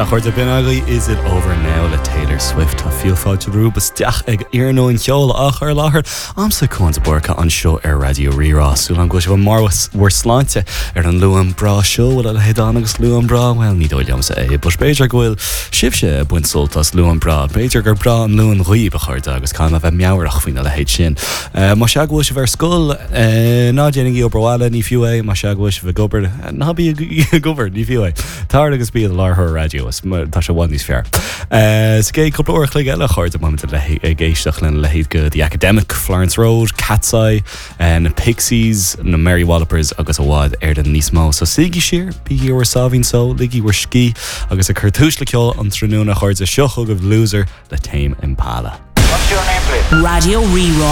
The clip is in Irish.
Sea, a chairde, b'in agaibh Is It Over Now le Taylor Swift. Tá fíor fáilte romhaibh isteach ag Iarnóin Cheoil á chur i láthair a'msa Cuan de Búrca anseo ar Raidió Rí-Rá. Súil agam go bhfuil sibh i mbarr bhur sláinte ar an Luan breá seo. Bhfuil a leithéid ann agus Luan breá? Bhuel, ní dóigh liomsa é, but b'fhéidir go bhfuil sibhse ag baint sult as Luan breá. B'fhéidir gur breá an Luan dhaoibh, a chairde, agus caithfidh mé a bheith meabhrach faoina leithéid sin. Más ea go bhfuil sibh ar scoil, ná déanaigí obair bhaile, ní fiú é. Más ea go bhfuil sibh ag obair, ná bígí ag obair, ní fiú é. Tar agus bí i do láithreoir raidió, is tá sé i bhfad níos fearr. Sa gcéad cúpla uair a chloig eile, a chairde, beimid ag éisteacht lena leithéid de The Academic, Florence Road, Cat's Eye, na Pixies, na Mary Wallopers agus i bhfad Éireann níos mó. So suígí siar, bígí ar bhur sáimhín só, ligí bhur scíth agus ag cur túis le ceol an tráthnóna, a chairde, seo chugaibh Loser le Tame Impala. What's your name please? Raidió Rí-Rá.